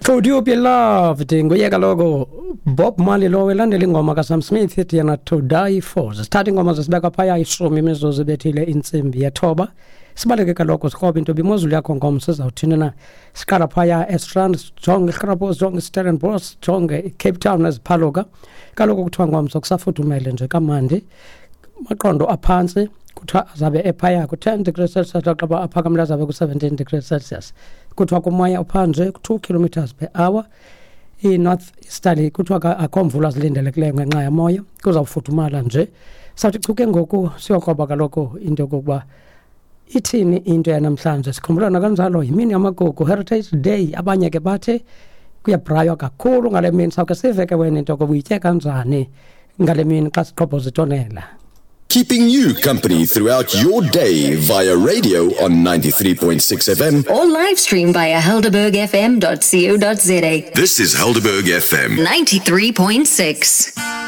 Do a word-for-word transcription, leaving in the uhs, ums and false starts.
Could You Be Loved nguye kaloku Bob Marley lo elandela ingoma kaSam Smith ethi yena To Die For. Sithatha ingoma zesibeka phaya ishumi imizuzu ebethile intsimbi yethoba. Sibaleke kaloku sikrobe into imozulu yakho ngomso sizawuthini na. Siqala phaya eStrand, sijonge iGrabos, sijonge iStellenbosch, sijonge iCape Town neziphaluka. Kaloku kuthiwa ngomso kusafudumele nje kamandi. Maqondo aphantsi kuthiwa azabe ephaya ku-ten degrees Celsius, xa aphakamile azabe ku-seventeen degrees Celsius. Kuthiwa kumoya ophanje ku-two kilometers per hour. I-north easterly kuthiwa akho mvula zilindelekileyo ngenxa yamoya, kuzawufudumala nje. Sawuthi chu ke ngoku siyokroba kaloku into yokokuba ithini into yanamhlanje. Sikhumbula kanjalo yimini yamagugu, Heritage Day. Abanye ke bathi kuyabraywa kakhulu ngale mini. Sawuke sive ke wena into yokokuba uyitye kanjani ngale mini xa siqhobhoza itonela. Keeping you company throughout your day via radio on ninety-three point six F M or live stream via helderberg f m dot co dot z a. This is Helderberg F M ninety-three point six.